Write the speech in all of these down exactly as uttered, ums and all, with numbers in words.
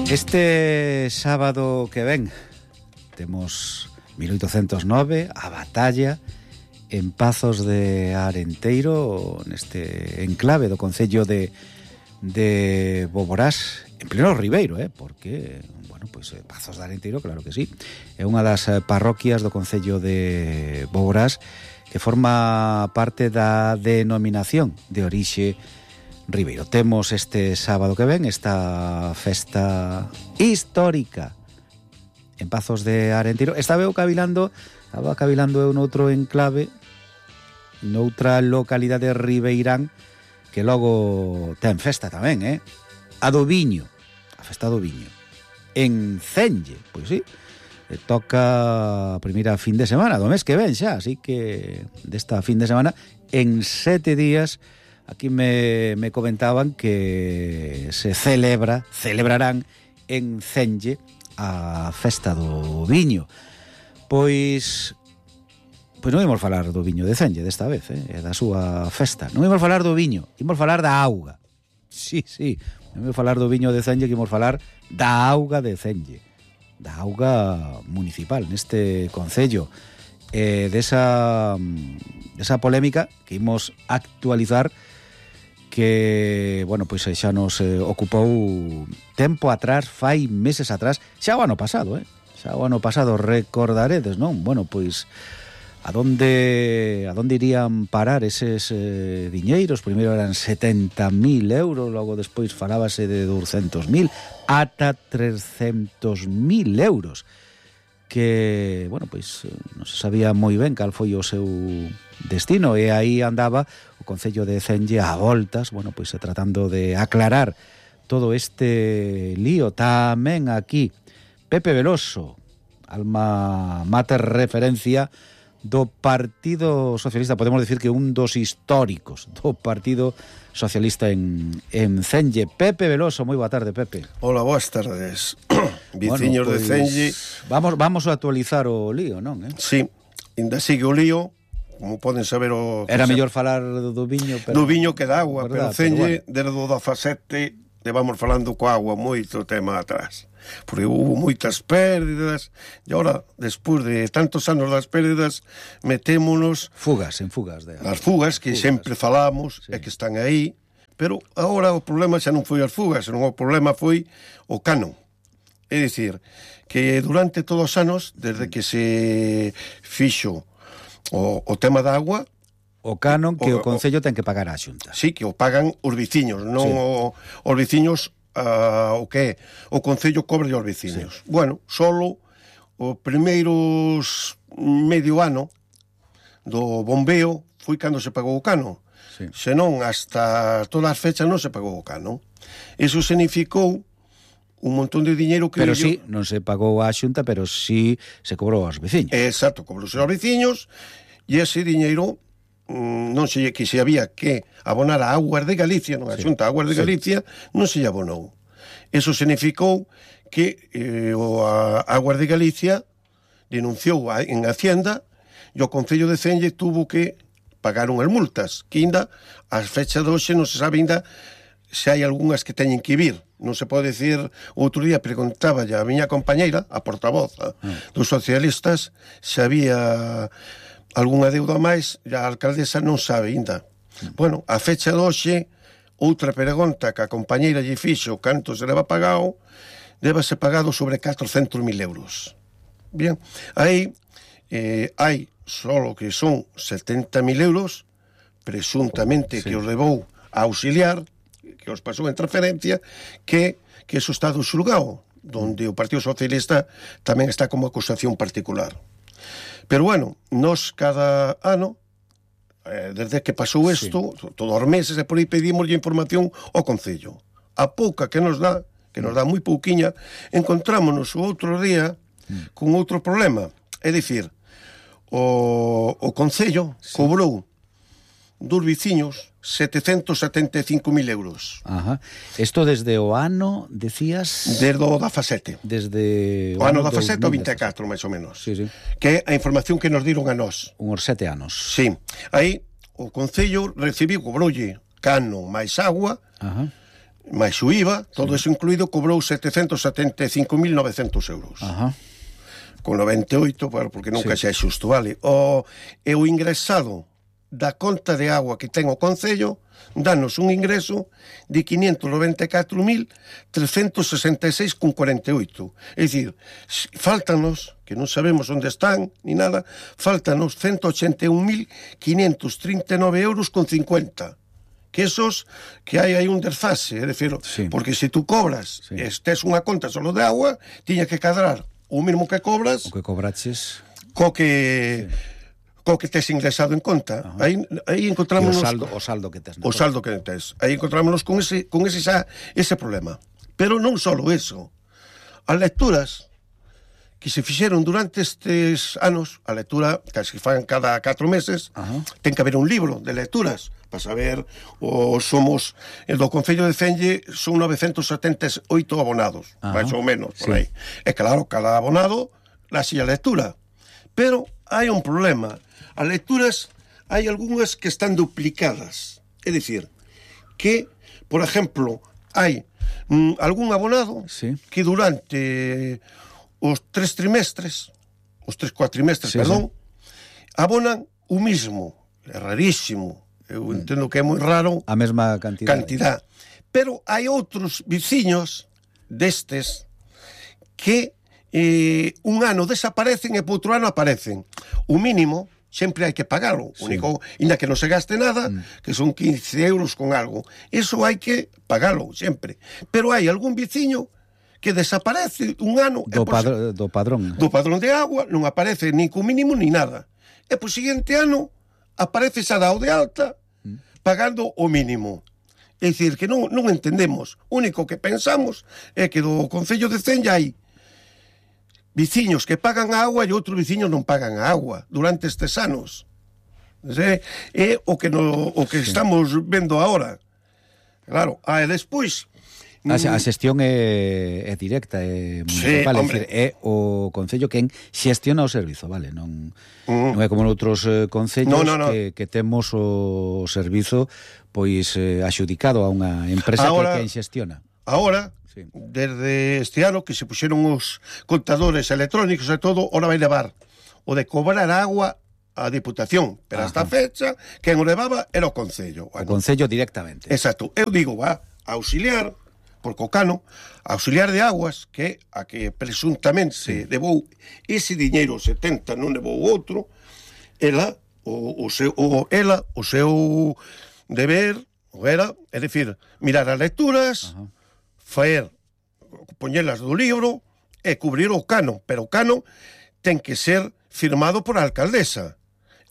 Este sábado que ven temos mil oitocentos nove, a batalla en Pazos de Arenteiro, neste enclave do concello de, de Boborás, en pleno Ribeiro, eh? Porque, bueno, pois pues, Pazos de Arenteiro, claro que sí, é unha das parroquias do concello de Boborás que forma parte da denominación de orixe Ribeiro. Temos este sábado que ven esta festa histórica en Pazos de Arenteiro. Estaba eu cavilando, estaba cavilando eu noutro enclave, noutra localidade ribeirán que logo ten festa tamén, eh? A do Viño, a festa do Viño. En Cenge, pois sí, toca a primeira fin de semana do mes que ven xa, así que desta fin de semana, en sete días, aquí me, me comentaban que se celebra, celebrarán en Cenge a festa do Viño. Pois pois non imos falar do Viño de Cenge desta vez, eh, da súa festa. Non imos falar do viño, imos falar da auga. Sí, sí, non imos falar do Viño de Cenge, que imos falar da auga de Cenge, da auga municipal neste concello, eh, desa, desa polémica que imos actualizar, que, bueno, pois xa nos eh, ocupou tempo atrás, fai meses atrás, xa o ano pasado, eh? Xa o ano pasado, recordaredes, non? Bueno, pois, a donde, a donde irían parar eses eh, diñeiros? Primeiro eran setenta mil euros, logo despois falábase de douscentos mil, ata trescentos mil euros, que, bueno, pois, non se sabía moi ben cal foi o seu destino, e aí andaba o concello de Cenge a voltas, bueno, pois tratando de aclarar todo este lío. Tamén aquí Pepe Veloso, alma mater referencia do Partido Socialista, podemos decir que un dos históricos do Partido Socialista en, en Cenge. Pepe Veloso, moi boa tarde, Pepe. Hola, boas tardes. Viciños bueno, pues, de Cenge. Vamos, vamos a actualizar o lío, non? Eh? Sí, ainda sigue o lío, como poden saber o... Era mellor falar do viño, pero... Do viño que da agua, verdad, pero Cenge, pero bueno, desde o dezasete, levamos falando coa agua moito tema atrás, porque hubo moitas pérdidas, e agora, despois de tantos anos das pérdidas, metémonos... Fugas, en fugas. De... As fugas, que fugas. Sempre falamos, sí, e que están aí, pero agora o problema xa non foi as fugas, senón o problema foi o canon. É dicir, que durante todos os anos, desde que se fixo O, o tema da agua, o canon que o, o concello ten que pagar á Xunta. Sí, que o pagan os veciños, non sí. o, os veciños, uh, o que é? O concello cobre aos veciños. Sí. Bueno, solo os primeiros medio ano do bombeo foi cando se pagou o canon. Sí. Senón, hasta todas as fechas non se pagou o canon. Iso significou un montón de diñeiro que... Pero sí, yo... non se pagou á Xunta, pero sí se cobrou aos veciños. Exacto, cobrouse aos veciños, e ese diñeiro mmm, non sei que se había que abonar a Aguas de Galicia, non a Xunta, a Aguas de Galicia, sí, non se abonou. Eso significou que eh, o a Aguas de Galicia denunciou a, en Hacienda, e o Concello de Cenge tuvo que pagar unhas multas, que ainda, as fechas de hoxe non se sabe ainda se hai algunhas que teñen que vir. Non se pode decir, outro día preguntaba a miña compañeira, a portavoz a, mm. dos socialistas, se había algunha deuda máis, e a alcaldesa non sabe ainda. Mm. Bueno, a fecha de hoxe, outra pregunta que a compañeira lle fixo canto se leva pagado, debe ser pagado sobre catrocentos mil euros. Bien, aí eh, hai solo que son setenta mil euros, presuntamente, sí, que os levou a auxiliar, que os pasou en transferencia, que, que eso está do xulgado, donde o Partido Socialista tamén está como acusación particular. Pero bueno, nos cada ano, eh, desde que pasou isto, sí, todos os meses, e por aí pedimos información ao Concello. A pouca que nos dá, que nos dá moi pouquiña, encontrámonos o outro día con outro problema. É dicir, o, o Concello, sí, cobrou dos veciños setecentos setenta e cinco mil euros. Ajá. Isto desde o ano, decías... Desde o dezasete. Desde o, o ano dezasete ao vinte e catro, máis ou menos. Sí, sí. Que é a información que nos diron a nós. Uns sete anos. Sí. Aí, o Concello recibiu, cobroulle cano máis agua, ajá, máis o I V A, todo sí. Eso incluído, cobrou setecentos setenta e cinco mil novecentos euros. Ajá. Con noventa e oito, bueno, porque nunca sí. Xa é xusto, vale? O, e o ingresado da conta de agua que ten o Concello danos un ingreso de quinientos noventa e catro mil trescentos sesenta e seis con cuarenta e oito. É dicir, faltanos, que non sabemos onde están, ni nada, faltanos ciento ochenta e un mil quinientos trinta e nove euros con cincuenta. Que esos, que hai aí un desfase, é dicir, sí. Porque se tú cobras, sí. Estes unha conta solo de agua, tiña que cadrar o mesmo que cobras... O que cobraches... Co que... Sí. Co que tes ingresado en conta. Aí, aí encontramos... O saldo, o saldo que tes. O saldo que tes. Aí encontrámonos con ese, con ese, xa, ese problema. Pero non só eso. As lecturas que se fixeron durante estes anos, a lectura que se fan cada catro meses, ajá. Ten que haber un libro de lecturas para saber, o somos, el do Concello de Celle son novecentos setenta e oito abonados, ajá. Mais ou menos, por sí. Aí. E claro, cada abonado la silla lectura. Pero hai un problema. As lecturas, hai algunhas que están duplicadas. É dicir, que, por exemplo, hai mm, algún abonado sí. Que durante os tres trimestres, os tres cuatrimestres, sí, perdón, sí. Abonan o mismo. É rarísimo. Eu mm. entendo que é moi raro. A mesma cantidad. Cantidad. Pero hai outros viciños destes que eh, un ano desaparecen e por outro ano aparecen. O mínimo sempre hai que pagalo, sí. Único, inda que non se gaste nada, mm. Que son quince euros con algo, eso hai que pagalo sempre, pero hai algún veciño que desaparece un ano do, por, padr do padrón do padrón de agua, non aparece ni co mínimo ni nada, e por seguinte ano aparece xa dado de alta mm. Pagando o mínimo. É dicir, que non, non entendemos, o único que pensamos é que do Concello de Celle hai viciños que pagan a agua e outros viciños non pagan a agua durante estes anos. É, é o que, no, o que sí. Estamos vendo agora. Claro, e despois... A, a xestión é, é directa, é municipal, sí, é, dicir, é o Concello quen xestiona o servizo, vale? Non, uh-huh. Non é como noutros eh, concellos no, no, no. Que, que temos o servizo pois eh, axudicado a unha empresa ahora, que quen xestiona. Agora... Desde este ano que se puxeron os contadores electrónicos e todo, ora vai levar o de cobrar agua a Diputación, pero hasta a fecha quen o levaba era o Concello. Bueno, o Concello directamente. Exacto. Eu digo, va, a auxiliar, porque o cano, a auxiliar de aguas, que a que presuntamente sí. Levou ese diñeiro setenta, non levou outro, ela, o, o seu, o, ela, o seu deber, o era, é dicir, mirar as lecturas, ajá. Faer, poñelas do libro e cubrir o cano, pero o cano ten que ser firmado por a alcaldesa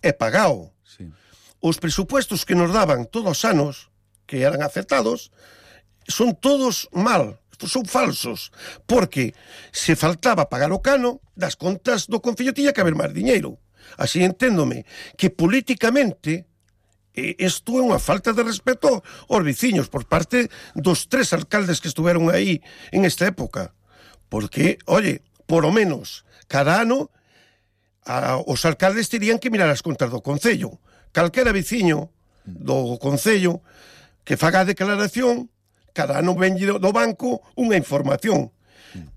e pagado. Sí. Os presupuestos que nos daban todos os anos, que eran aceptados, son todos mal, son falsos, porque se faltaba pagar o cano, das contas do Concello tiña que haber máis diñeiro. Así enténdome que políticamente... Isto é unha falta de respeto aos veciños por parte dos tres alcaldes que estuveron aí en esta época. Porque, oye, por o menos, cada ano a, os alcaldes terían que mirar as contas do Concello. Calquera veciño do Concello que faga a declaración, cada ano venlle do banco unha información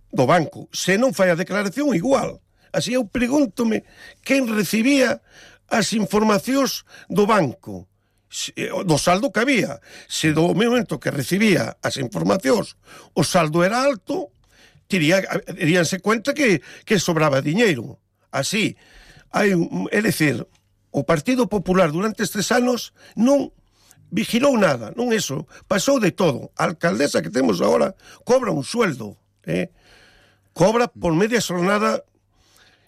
do banco. Se non fai a declaración, igual. Así eu pregúntome quen recibía as informacións do banco, do saldo que había. Se do momento que recibía as informacións o saldo era alto, tiría, diríanse cuenta que, que sobraba diñeiro. Así, hai, é dicir, o Partido Popular durante estes anos non vigilou nada, non eso, pasou de todo. A alcaldesa que temos agora cobra un sueldo, eh? Cobra por media jornada,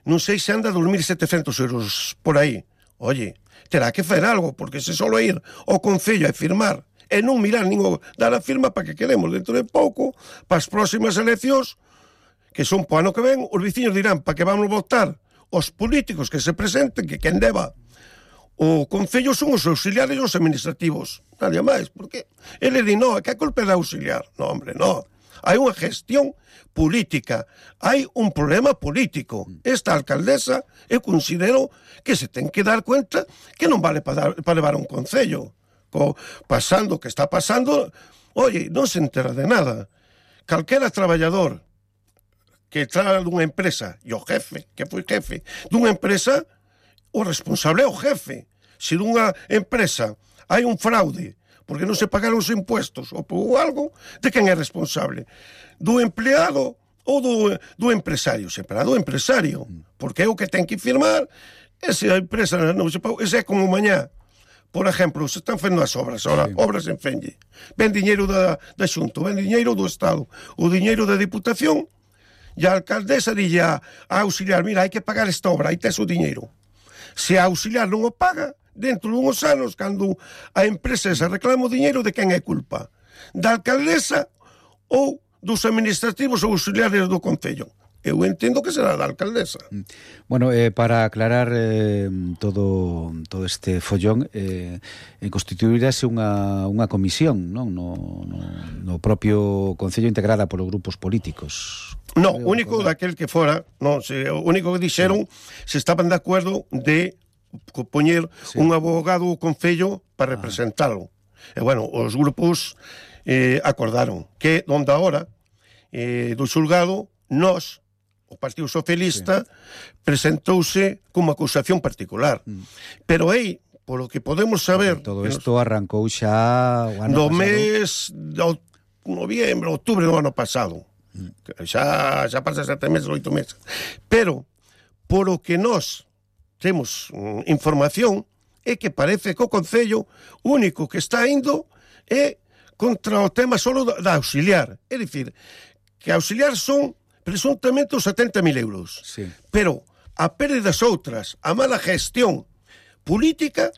non sei se anda a dormir setecentos euros por aí. Oye, terá que fazer algo, porque se solo ir ao Concello a firmar e non mirar nin dar a firma para que queremos dentro de pouco, para as próximas eleccións, que son po ano que ven, os veciños dirán para que vamos votar os políticos que se presenten, que quen deba o Concello son os auxiliares e os administrativos, nadie máis, porque ele di, no, que a culpa é da auxiliar. No, hombre, no. Hai unha gestión política, hai un problema político. Esta alcaldesa, eu considero que se ten que dar cuenta que non vale para, dar, para levar un concello. Co, pasando o que está pasando, Oye, non se entera de nada. Calquera traballador que traga dunha empresa, e o jefe, que foi jefe dunha empresa, o responsable é o jefe. Se dunha empresa hai un fraude porque non se pagaron os impuestos ou por algo, de quen é responsable? Do empleado ou do, do empresario? Sempre do empresario, porque é o que ten que firmar. E se a empresa non se pagou, ese é como mañá. Por exemplo, se están fendo as obras, ora, sí. obras en Fenlle. Ven diñeiro da, da Xunto, ven diñeiro do Estado, o diñeiro da Diputación, e a alcaldesa dille a, a auxiliar, mira, hai que pagar esta obra, aí tes o diñeiro. Se a auxiliar non o paga, dentro de uns anos, cando a empresa se reclama o diñeiro, de quen é culpa? Da alcaldesa ou dos administrativos ou auxiliares do Concello? Eu entendo que será da alcaldesa. Bueno, eh, para aclarar eh, todo todo este follón, eh, constituirase unha, unha comisión, non? No, no, no propio Concello, integrada polos grupos políticos. No, o único daquel que fora, non, se, o único que dixeron se estaban de acordo de poñer sí. un abogado ao Concello para ah. representalo. E, bueno, os grupos eh, acordaron que, donde agora, eh, do xulgado, nós, o Partido Socialista, sí. presentouse como acusación particular. Mm. Pero aí, polo que podemos saber... Todo isto nos... arrancou xa o ano no pasado. mes de noviembre, outubro do ano pasado. Mm. Xa, xa pasa sete meses, oito meses. Pero, polo que nós temos mm, información, é que parece que o Concello único que está indo é contra o tema solo da auxiliar. É dicir, que auxiliar son presuntamente os setenta mil euros. Sí. Pero a pérdidas outras, a mala gestión política,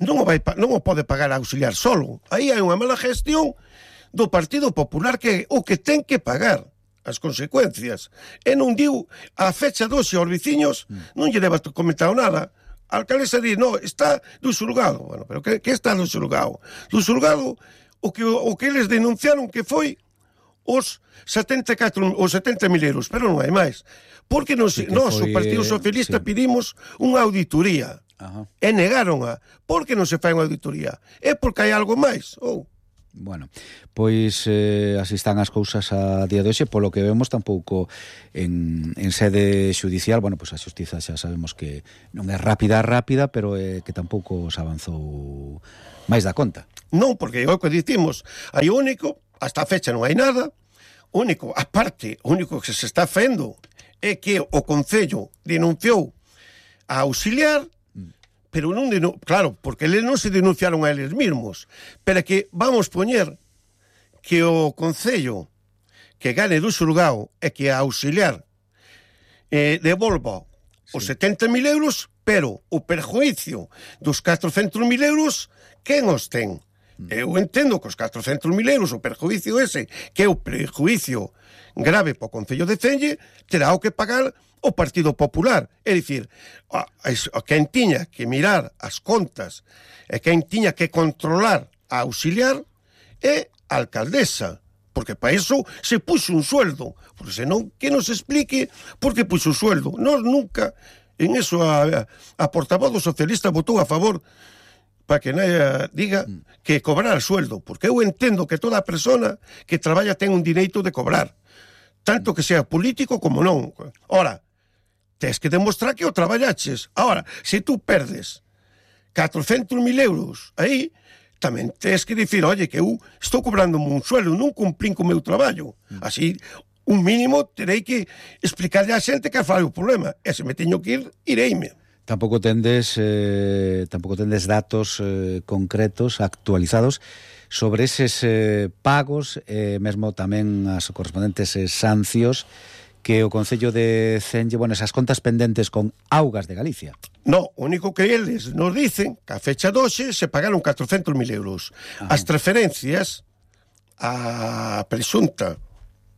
non o, vai, non o pode pagar a auxiliar solo. Aí hai unha mala gestión do Partido Popular que o que ten que pagar as consecuencias. E non diu a fecha doce aos veciños, mm. non lle deba comentado nada. A alcaldesa di, no, está do xulgado. Bueno, pero que, que está do xulgado? Do xulgado, o que, o que eles denunciaron que foi os setenta e catro, os setenta mil euros, pero non hai máis. Porque nos, sí nós, foi, o Partido Socialista, sí. pedimos unha auditoría. Ajá. E negaron a. Por que non se fai unha auditoría? É porque hai algo máis, ou... Oh. Bueno, pois eh, así están as cousas a día de hoxe, polo que vemos tampouco en, en sede xudicial. Bueno, pois a xustiza xa sabemos que non é rápida, rápida, pero eh, que tampouco se avanzou máis da conta. Non, porque é o que dicimos, hai único, hasta a fecha non hai nada, único, aparte, o único que se está fendo é que o Concello denunciou a auxiliar, pero non denun... claro, porque eles non se denunciaron a eles mesmos, pero que vamos poñer que o Concello que gane do xulgado é que a auxiliar eh, devolva sí. os setenta mil euros, pero o perjuicio dos catrocentos mil euros, quen os ten? Eu entendo que os catrocentos mil euros, o perjuicio ese, que é o perjuicio grave para o Concello de Celle, terá o que pagar o Partido Popular. É dicir, a, a quen tiña que mirar as contas e quen tiña que controlar a auxiliar é a alcaldesa, porque para iso se puxo un sueldo, porque senón que nos explique por que puxo un sueldo. Nós nunca, en eso a, a portavoz do socialista votou a favor para que nadie diga que cobrar sueldo, porque eu entendo que toda persona que traballa ten un direito de cobrar, tanto que sea político como non. Ora, tes que demostrar que o traballaches. Ora, se tú perdes catrocentos mil euros aí, tamén tes que dicir, oye, que eu estou cobrando un sueldo, non cumplín co meu traballo. Así, un mínimo terei que explicarle a xente que fai o problema. E se me teño que ir, ireime. Tampouco tendes eh, tampouco tendes datos eh, concretos, actualizados sobre eses eh, pagos, eh, mesmo tamén as correspondentes eh, sancións que o Concello de Celle, bueno, esas contas pendentes con Augas de Galicia. No, o único que eles nos dicen que a fecha doce se pagaron catrocentos mil euros. Ajá. As transferencias a presunta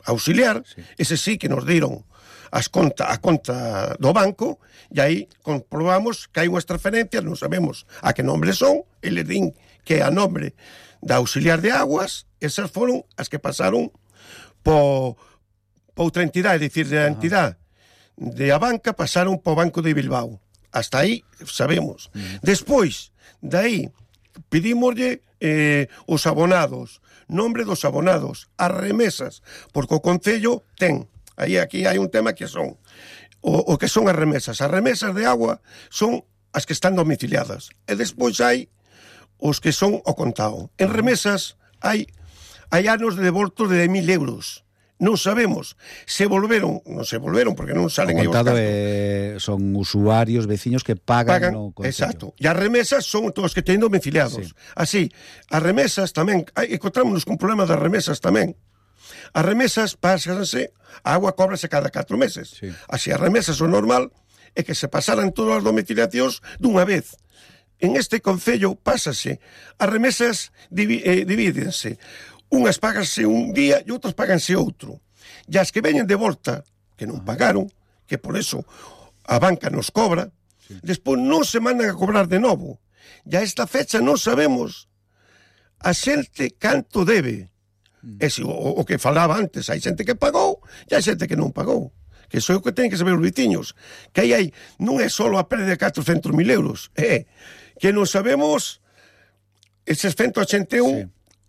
auxiliar, sí. ese sí que nos dieron as conta, a conta do banco, e aí comprobamos que hai unhas transferencias, non sabemos a que nombre son, e le din que a nombre da auxiliar de aguas, esas foron as que pasaron po, po outra entidade, é dicir, da entidade de a banca pasaron po Banco de Bilbao. Hasta aí sabemos. Uh-huh. Despois, de aí, pedimoslle eh, os abonados, nombre dos abonados, as remesas, porque o Concello ten, aí aquí hai un tema que son, o, o que son as remesas. As remesas de agua son as que están domiciliadas, e despois hai os que son o contado. En remesas hai, hai anos de devoltos de mil euros. Non sabemos se volveron, non se volveron porque non salen o aí os contado gastos. Eh, son usuarios, veciños que pagan, pagan no Concello. Exacto. E as remesas son todos os que teñen domiciliados. Sí. Así, as remesas tamén, hai, encontrámonos con problema das remesas tamén. As remesas pásanse, a agua cóbrase cada catro meses. Sí. Así, as remesas o normal é que se pasaran todas as domiciliacións dunha vez. En este Concello pásase, as remesas divi, eh, divídense. Unhas páganse un día e outras páganse outro. E as que veñen de volta, que non pagaron, que por eso a banca nos cobra, sí. Despois non se mandan a cobrar de novo. E a esta fecha non sabemos a xente canto debe. Mm. E se, o, o que falaba antes, hai xente que pagou e hai xente que non pagou. Que iso é o que teñen que saber os veciños. Que aí hai, non é só a pérdida de catrocentos mil euros, é que non sabemos eses ciento ochenta e un... Sí.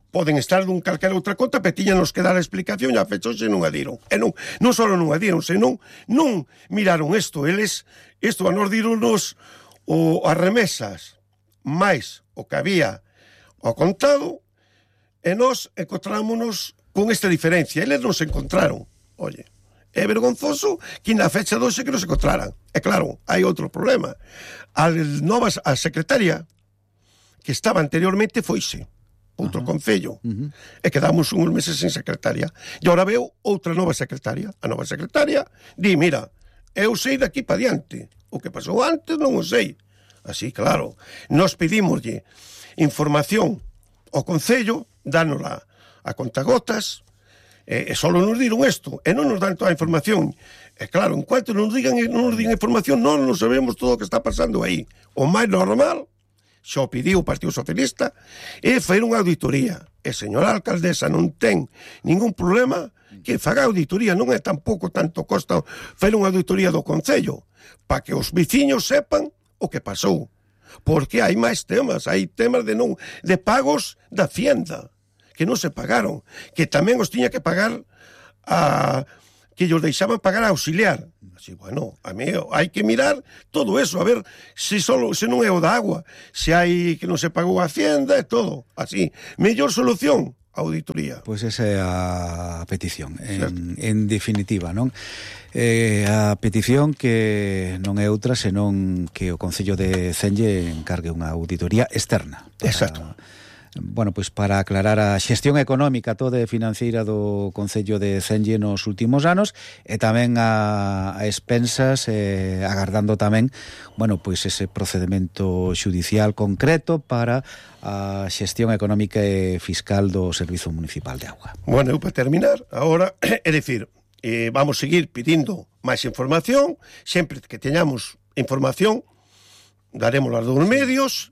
Poden estar dun calquera outra conta, pero tiñanos que dar a explicación e a fecha hoxe non a diron. E non, non só non a diron, senón non miraron isto. Eles, isto a nos dironos o, as remesas máis o que había ao contado e nós encontrámonos con esta diferencia. Eles non se encontraron. Oye, é vergonzoso que na fecha de hoxe que non se encontraran. E claro, hai outro problema. A nova a secretaria que estaba anteriormente foise outro uh-huh. Concello, uh-huh. e quedamos uns meses sin secretaria. E agora veo outra nova secretaria. A nova secretaria di, mira, eu sei daqui para diante. O que pasou antes non o sei. Así, claro, nos pedimoslle información ao Concello, dánola a contagotas, e, e só nos diron isto, e non nos dan toda a información. E claro, en cuanto nos digan, non nos digan información, non nos sabemos todo o que está pasando aí. O máis normal, xa o pediu o Partido Socialista, e foi unha auditoría. E señora alcaldesa non ten ningún problema que faga auditoría, non é tampouco tanto costa fer unha auditoría do Concello, para que os veciños sepan o que pasou. Porque hai máis temas, hai temas de non de pagos da Hacienda, que non se pagaron, que tamén os tiña que pagar a... que ellos deixaban pagar a auxiliar. Así, bueno, a mí hai que mirar todo eso, a ver se solo se non é o da agua, se hai que non se pagou a Hacienda e todo. Así, mellor solución, auditoría. Pois pues esa é a petición, en, en definitiva, non? Eh, a petición que non é outra senón que o Concello de Cenlle encargue unha auditoría externa. Para... Exacto. Bueno, pois para aclarar a xestión económica toda e financeira do Concello de Cenlle nos últimos anos e tamén a, a expensas eh, agardando tamén, bueno, pois ese procedimento xudicial concreto para a xestión económica e fiscal do Servizo Municipal de Auga. Bueno, eu para terminar, agora, é dicir, eh, vamos seguir pedindo máis información, sempre que teñamos información, daremos as dos medios,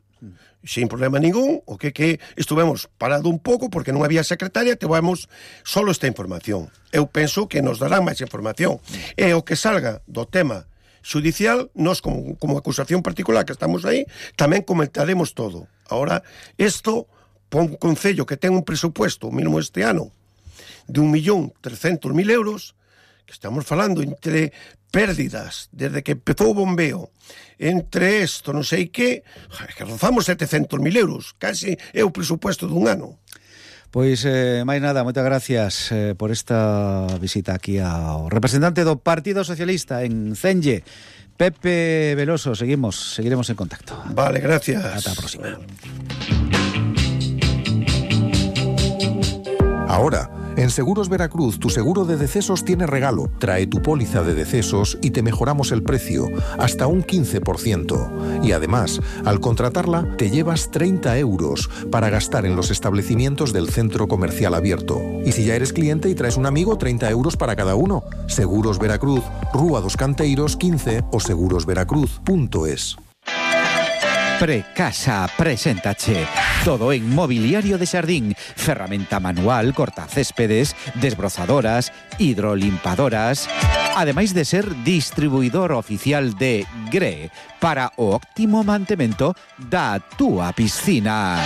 sin problema ningún, o que que estuvemos parado un pouco porque non había secretaria, tivemos solo esta información. Eu penso que nos darán máis información. E o que salga do tema xudicial, nós como, como acusación particular que estamos aí, tamén comentaremos todo. Ahora, isto, para un concello que ten un presupuesto, mínimo este ano, de un millón trescentos mil euros, que estamos falando entre pérdidas, desde que empezou o bombeo, entre isto, non sei que, que rozamos setecentos mil euros, casi é o presupuesto dun ano. Pois, eh, máis nada, moitas gracias eh, por esta visita aquí ao representante do Partido Socialista en Cenlle, Pepe Veloso. Seguimos, seguiremos en contacto. Vale, gracias. Ata a próxima. Ahora, en Seguros Veracruz, tu seguro de decesos tiene regalo. Trae tu póliza de decesos y te mejoramos el precio, hasta un quince por ciento. Y además, al contratarla, te llevas treinta euros para gastar en los establecimientos del centro comercial abierto. Y si ya eres cliente y traes un amigo, treinta euros para cada uno. Seguros Veracruz, Rúa dos Canteiros quince o seguros veracruz punto es. Precasa preséntache todo en mobiliario de xardín, ferramenta manual, cortacéspedes, desbrozadoras, hidrolimpadoras, ademais de ser distribuidor oficial de G R E para o óptimo mantemento da túa piscina.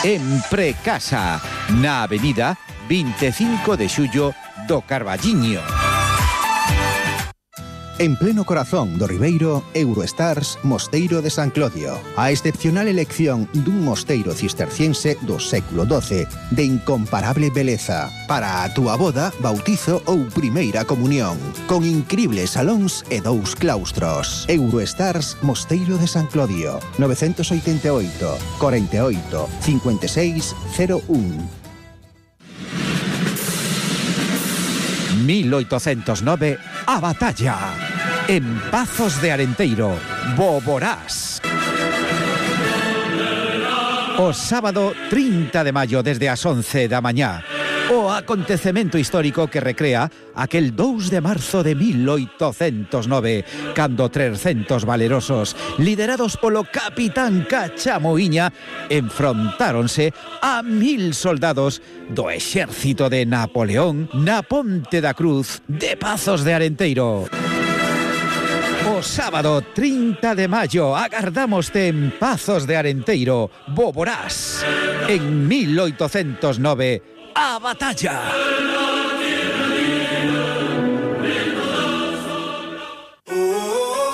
en Precasa, na avenida veinticinco de xullo do Carballiño. En pleno corazón do Ribeiro, Eurostars Mosteiro de San Clodio. A excepcional elección dun mosteiro cisterciense do século doce, de incomparable beleza, para a túa boda, bautizo ou primeira comunión, con incribles salóns e dous claustros. Eurostars Mosteiro de San Clodio, novecientos oitenta e oito, cuarenta y ocho, cincuenta y seis, cero uno. mil oitocentos nove, a batalla. En Pazos de Arenteiro, Boborás. O sábado trinta de maio desde as once da mañá. O acontecemento histórico que recrea aquel dous de marzo de mil oitocentos nove, cando trescentos valerosos, liderados polo capitán Cachamoiña, enfrontáronse a mil soldados do exército de Napoleón na Ponte da Cruz de Pazos de Arenteiro. O sábado trinta de maio agardámoste en Pazos de Arenteiro, Boborás. En mil oitocentos nove, a batalla.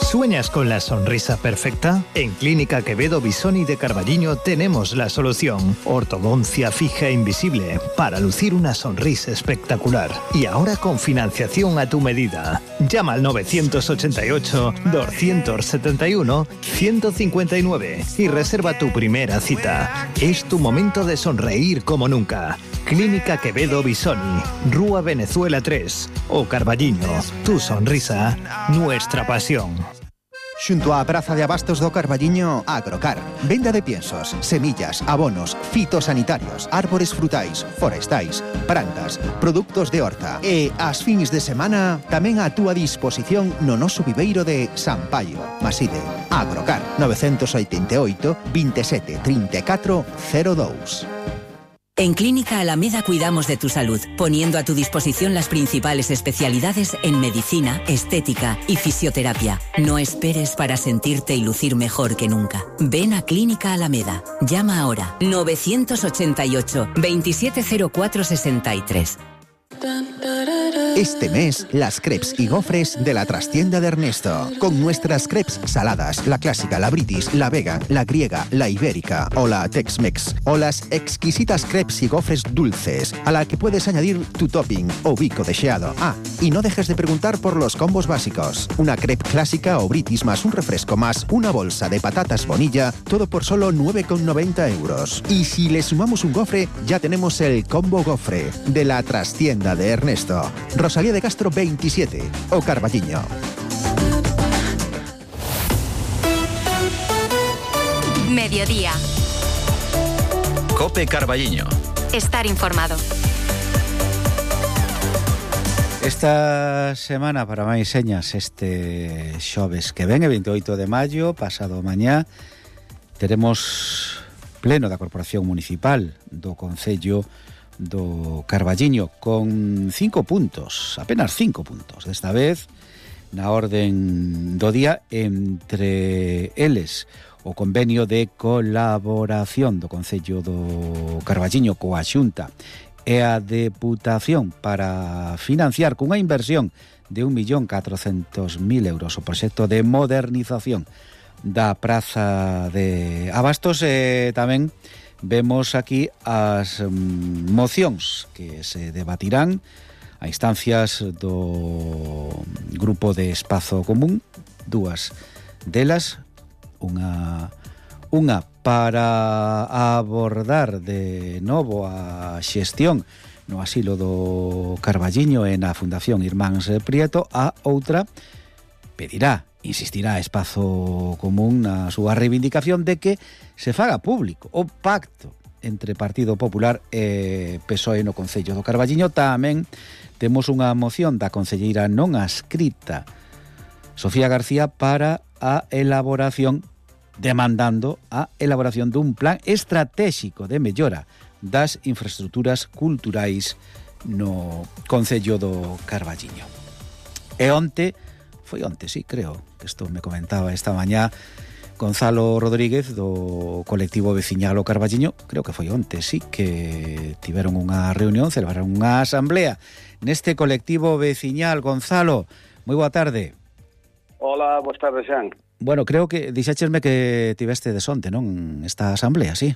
¿Sueñas con la sonrisa perfecta? En Clínica Quevedo Bisoni de Carballiño tenemos la solución. Ortodoncia fija e invisible para lucir una sonrisa espectacular. Y ahora con financiación a tu medida. Llama al novecientos ochenta y ocho, doscientos setenta y uno, ciento cincuenta y nueve y reserva tu primera cita. Es tu momento de sonreír como nunca. Clínica Quevedo Bisoni, Rúa Venezuela tres o Carballiño. Tu sonrisa, nuestra pasión. Xunto á Praza de Abastos do Carballiño, Agrocar. Venda de piensos, semillas, abonos, fitosanitarios, árbores frutais, forestais, plantas, produtos de horta. E as fins de semana tamén a túa disposición no noso viveiro de San Paio. Maside, Agrocar, novecientos oitenta e oito, veintisiete, treinta y cuatro, cero dos. En Clínica Alameda cuidamos de tu salud, poniendo a tu disposición las principales especialidades en medicina, estética y fisioterapia. No esperes para sentirte y lucir mejor que nunca. Ven a Clínica Alameda. Llama ahora novecientos ochenta y ocho, veintisiete cero cuatro sesenta y tres. Este mes, las crepes y gofres de la trastienda de Ernesto. Con nuestras crepes saladas, la clásica, la british, la vegan, la griega, la ibérica o la Tex-Mex. O las exquisitas crepes y gofres dulces, a la que puedes añadir tu topping o bico deseado. Ah, y no dejes de preguntar por los combos básicos. Una crepe clásica o british más un refresco más una bolsa de patatas Bonilla, todo por solo nueve con noventa euros. Y si le sumamos un gofre, ya tenemos el combo gofre de la trastienda de Ernesto. Rosalía de Castro veintisiete o Carballiño. Mediodía. Cope Carballiño. Estar informado. Esta semana, para máis señas, este xoves que ven, e veintiocho de maio, pasado mañá, teremos pleno da Corporación Municipal do Concello do Carballiño con cinco puntos, apenas cinco puntos, desta vez na orden do día, entre eles o convenio de colaboración do Concello do Carballiño coa Xunta e a Deputación para financiar cunha inversión de un millón catrocentos mil euros o proxecto de modernización da Praza de Abastos. E tamén vemos aquí as um, mocións que se debatirán a instancias do Grupo de Espazo Común, dúas delas, unha unha para abordar de novo a xestión no asilo do Carballiño e na Fundación Irmáns Prieto, a outra pedirá, insistirá a Espazo Común na súa reivindicación de que se faga público o pacto entre Partido Popular e P S O E no Concello do Carballiño. Tamén temos unha moción da concelleira non adscrita Sofía García para a elaboración, demandando a elaboración dun plan estratégico de mellora das infraestructuras culturais no Concello do Carballiño. E onte, foi onte, sí, creo, que isto me comentaba esta mañá, Gonzalo Rodríguez do colectivo veciñal O Carballiño, creo que foi onte, sí, que tiveron unha reunión, celebraron unha asamblea neste colectivo veciñal. Gonzalo, moi boa tarde. Hola, boas tardes, Xan. Bueno, creo que dixéchesme que tiveste de sonte, non? Esta asamblea, sí?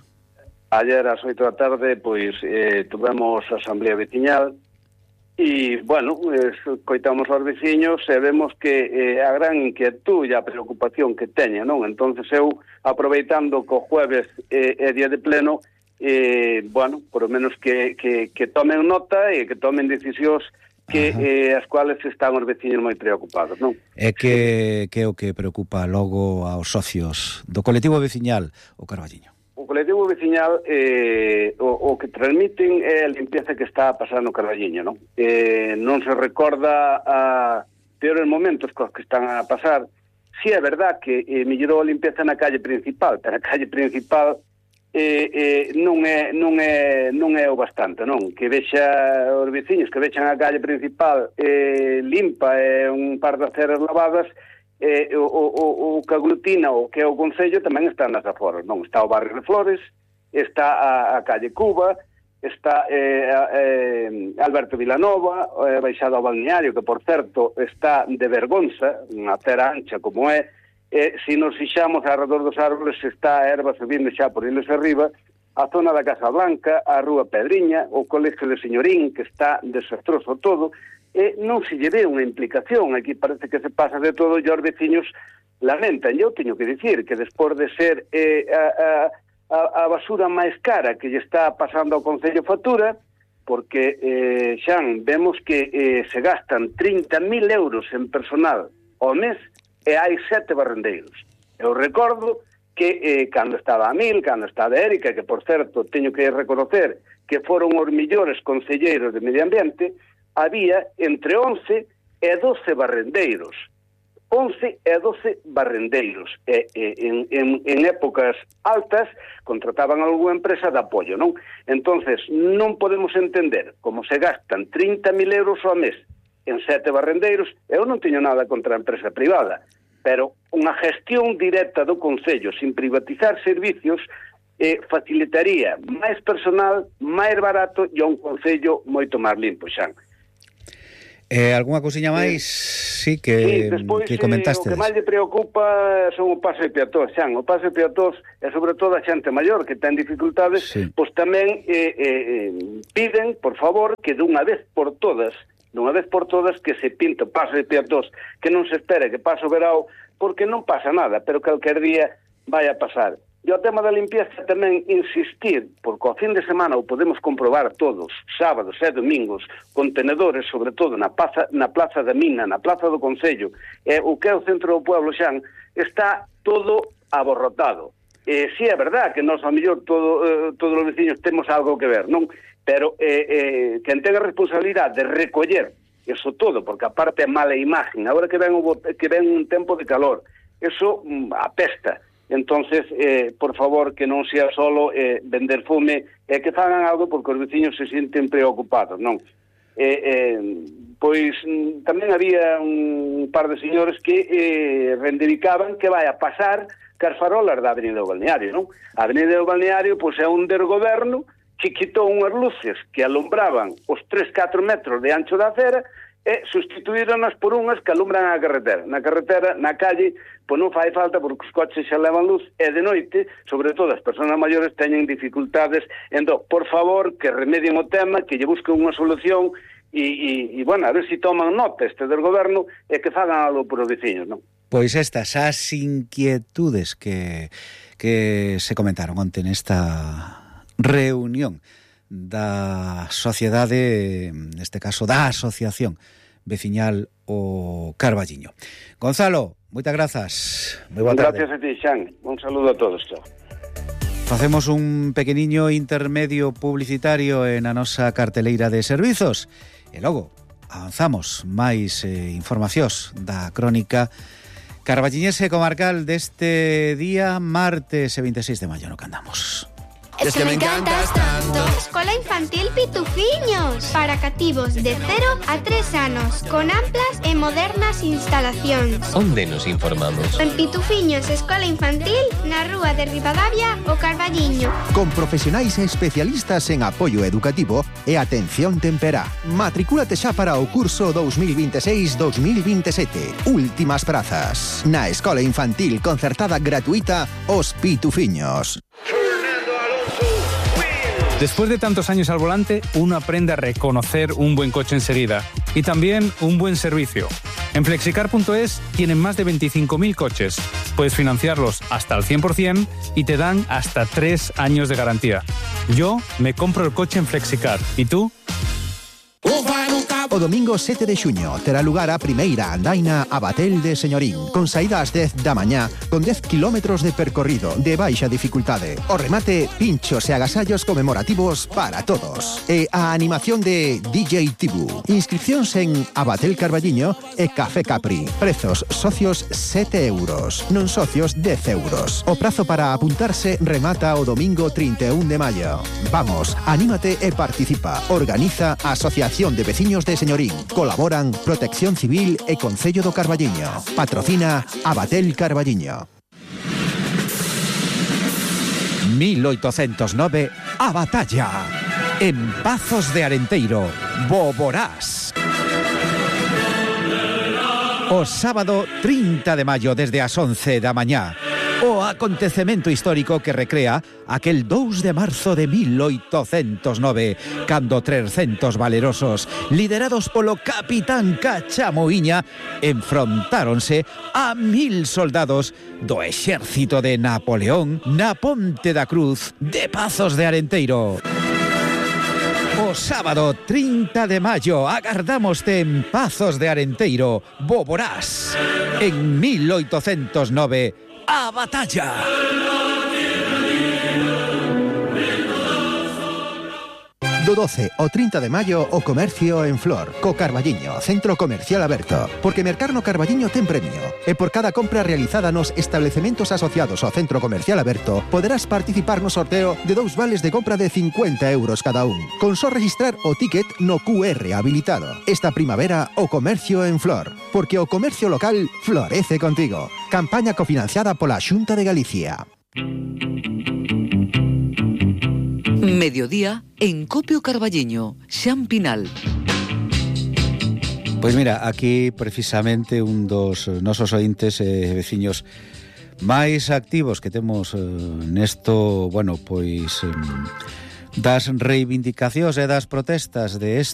Ayer ás oito da tarde, pois, eh, tuvemos a asamblea veciñal e, bueno, escoitamos aos veciños e vemos que eh, a gran inquietud e a preocupación que teña, non? Entonces eu, aproveitando que o jueves eh, é día de pleno, eh, bueno, por lo menos que, que, que tomen nota e que tomen decisións que eh, as cuales están os veciños moi preocupados, non? É que, que é o que preocupa logo aos socios do colectivo veciñal O Carballiño? O colectivo veciñal eh, o, o que transmiten é a limpieza que está a pasar no Carballiño, non? Eh, non se recorda a peores momentos cos que están a pasar. Si é verdad que eh, mellorou a limpieza na calle principal, pero a calle principal eh, eh, non é non é non é o bastante, non? Que vexa os veciños que vexan a calle principal eh, limpa e eh, un par de aceras lavadas. Eh, o, o, o que aglutina o que é o Concello tamén está nas aforas, non? Está o barrio de Flores, está a, a calle Cuba, está eh, eh, Alberto Vilanova, eh, baixado ao balneario, que por certo está de vergonza, unha acera ancha como é, eh, se nos fixamos alrededor dos árboles está a erva subindo xa por iles arriba, a zona da Casa Blanca, a Rúa Pedriña, o Colegio de Señorín, que está desastroso todo, e non se lle ve unha implicación. Aquí parece que se pasa de todo e os veciños lamentan. Eu teño que dicir que despois de ser eh, a, a, a basura máis cara que lle está pasando ao Concello factura, porque eh, Xan, vemos que eh, se gastan trinta mil euros en personal ao mes e hai sete barrendeiros. Eu recordo que eh, cando estaba a Mil, cando estaba a Érica, que por certo teño que reconocer que foron os millores concelleiros de medio ambiente, había entre once e doce barrendeiros. once e doce barrendeiros. E, e, en, en, en épocas altas contrataban algunha empresa de apoio, non? Entonces, non podemos entender como se gastan trinta mil euros ao mes en sete barrendeiros. Eu non teño nada contra a empresa privada, pero unha gestión directa do Concello sin privatizar servicios eh, facilitaría máis personal, máis barato e un Concello moito máis limpo, Xan. Eh, algunha cousiña máis, sí, que, sí, despois, que comentaste? Eh, o que máis lle preocupa son o paso de peatós, Xan. O paso de peatós é sobre todo a xente maior que ten dificultades, sí. Pois tamén eh, eh, piden, por favor, que dunha vez por todas, dunha vez por todas, que se pinta o paso de peatós, que non se espere que pase o verao, porque non pasa nada, pero calquer día vai a pasar. E o tema da limpieza tamén insistir, porque ao fin de semana o podemos comprobar todos, sábados e domingos, contenedores, sobre todo na plaza, na plaza da Mina, na plaza do Concello, e o que é o centro do pueblo, Xan, está todo aborrotado. Eh, si é verdad que nós, ao mellor, todo, eh, todos os veciños temos algo que ver, non? Pero eh, eh, quen ten a responsabilidade de recoller eso todo, porque aparte é mala imagen, agora que ven, o, que ven un tempo de calor, eso mm, apesta. Entonces, eh, por favor, que non sea solo eh, vender fume, e eh, que fagan algo porque os veciños se sinten preocupados, non? Eh, eh, pois tamén había un par de señores que eh, reivindicaban que vai a pasar cas farolas da Avenida do Balneario, non? A Avenida do Balneario pois é un desgoberno que quitou unhas luces que alumbraban os tres a catro metros de ancho da acera e sustituíronas por unhas que alumbran a carretera. Na carretera, na calle, pois non fai falta porque os coches xa levan luz e de noite, sobre todo as persoas maiores, teñen dificultades. Entón, por favor, que remedien o tema, que lle busquen unha solución e, e, e bueno, a ver se toman nota este del goberno e que fagan algo por os veciños, non? Pois estas, as inquietudes que, que se comentaron onte nesta reunión da sociedade, neste caso da asociación veciñal O Carballiño. Gonzalo, moitas grazas. Moi boa tarde. Gracias a ti, Xan. Un saludo a todos. Chao. Facemos un pequeniño intermedio publicitario en a nosa carteleira de servizos e logo avanzamos máis eh, informacións da crónica carballiñese comarcal deste día martes veintiséis de maio no que andamos. Es que me encantas tanto. Escola Infantil Pitufiños, para cativos de cero a tres anos, con amplas e modernas instalacións. Onde nos informamos? En Pitufiños Escola Infantil, na rúa de Ribadavia, o Carballiño. Con profesionais e especialistas en apoio educativo e atención temperá. Matricúlate xa para o curso dos mil veintiséis dos mil veintisiete. Últimas prazas. Na Escola Infantil concertada gratuita Os Pitufiños. Después de tantos años al volante, uno aprende a reconocer un buen coche enseguida y también un buen servicio. En flexicar punto es tienen más de veinticinco mil coches. Puedes financiarlos hasta al cien por ciento y te dan hasta tres años de garantía. Yo me compro el coche en Flexicar. ¿Y tú? O domingo sete de xuño terá lugar a primeira andaina a Batel de Señorín, con saída ás dez da mañá, con dez kilómetros de percorrido de baixa dificultade. O remate, pinchos e agasallos conmemorativos para todos. E a animación de D J Tibu. Inscripcións en Abatel Carballiño e Café Capri. Prezos socios sete euros, non socios dez euros. O prazo para apuntarse remata o domingo trinta e un de maio. Vamos, anímate e participa. Organiza a Asociación de Veciños de Señorín. Colaboran Protección Civil e Concello do Carballiño. Patrocina Abatel Carballiño. mil oitocentos nove, a batalla. En Pazos de Arenteiro, Boborás. O sábado trinta de maio desde as once da mañá. O acontecemento histórico que recrea aquel dous de marzo de mil oitocentos nove, cando trescentos valerosos, liderados polo capitán Cachamoiña, enfrontáronse a mil soldados do exército de Napoleón na Ponte da Cruz de Pazos de Arenteiro. O sábado trinta de maio agardámoste en Pazos de Arenteiro, Boborás. En mil oitocentos nove, a batalla. Do doce ao trinta de maio o comercio en Flor, co Carballiño, centro comercial aberto. Porque mercar no Carballiño ten premio. E por cada compra realizada nos establecementos asociados ao centro comercial aberto, poderás participar no sorteo de dous vales de compra de cincuenta euros cada un. Con só registrar o ticket no Q R habilitado. Esta primavera o comercio en Flor. Porque o comercio local florece contigo. Campaña cofinanciada pola Xunta de Galicia. Mediodía en Copio Carballiño, Xan Pinal. Pois mira, aquí precisamente un dos nosos ointes e eh, veciños máis activos que temos eh, nesto, bueno, pois eh, das reivindicacións e das protestas de este